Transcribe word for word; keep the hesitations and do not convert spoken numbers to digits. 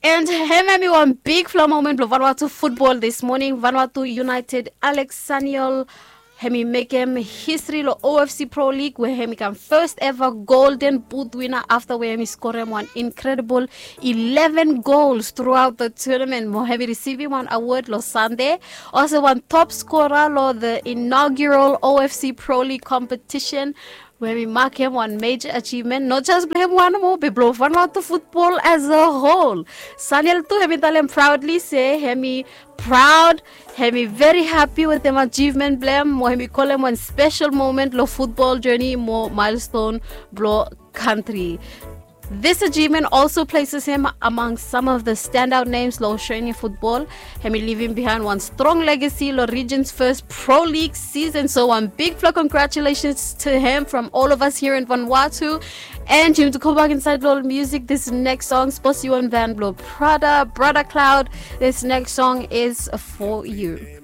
And hemia hemi wan bigfala moment blong Vanuatu futbol this morning. Vanuatu United Alex Saniol hemi mekem history long O F C Pro League, where hemi kam first ever Golden Boot winner after where hemi skorem wan incredible eleven goals throughout the tournament. Mo hemi risivim wan award long Sunday. Also wan top scorer long the inaugural O F C Pro League competition, where hemi makem wan major achievement, not just blong hem wan mo, be blong Vanuatu futbol as a whole. Saniel tu hemi talem proudly se hemi proud, hemi very happy wetem achievement blong hem, mo hemi kolem wan special moment long futbol journey mo milestone blong country. This achievement also places him among some of the standout names long Australian football. Hemi living behind one strong legacy long region's first Pro League season. So one big floor congratulations to him from all of us here in Vanuatu. And Jim, to go back inside long music, this next song, Sposi One Van Blow Prada, Brother Cloud. This next song is for you.